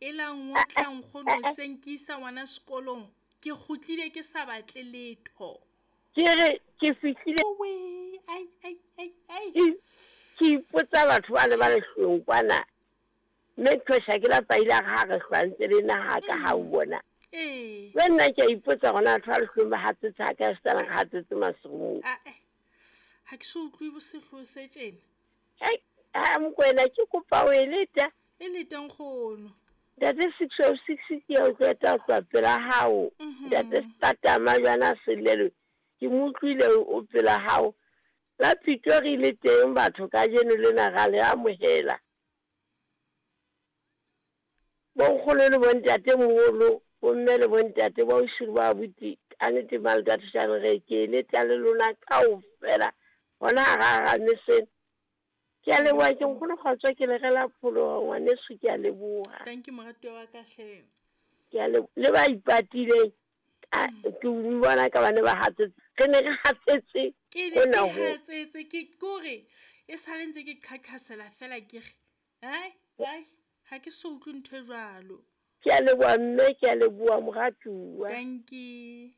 E la ngotla nkgono hoseng ke isa ngwana sekolong. Ke kgutlile ke sa batle letho. Ke re ke fihlile. Owe, ai ai ai ai. Ke ipotsa batho ba le ba lehlweng kwana. Mme Qhosha ke lapa ile a re ha re hlwantse le naha ka ha o bona. Ee. Le nna ke a ipotsa gona batho ba lehlweng ba hatsetse ha ka setana re hatsetse maserung. Ae. Ha ke so utlwe sehloho se tjena. Hei, ha Mokoena ke kopa o e leta. E lete nkgono. Ntate 606 ke ya o qeta ho tloha pela hao. Ntate Satama jwana Selelo ke mo utlwile o pela hao. La Pitori le teng batho kajeno lena ra le amohela. Bonkgono le bontate moholo, bomme le bontate, bo ausi le bo abuti, ka nnete Maltatshane re ke leta le lona kaofela hona hara hara meseno. Ke a leboha ke nkgono kgotso ke le rela pholoho ngwaneso ke a leboha. Thank you moratuwa wa ka hle. Ke a leboha le ba ipatileng ke bona ka bane ba hatsetse re ne re hatsetse Ke ne hona ke ho. hatsetse ke kore e sale ntse ke qhaqhasela fela ke re ai ai ha ke so utlwe ntho e jwalo. Ke a leboha mme ke a leboha moratuwa. Thank you.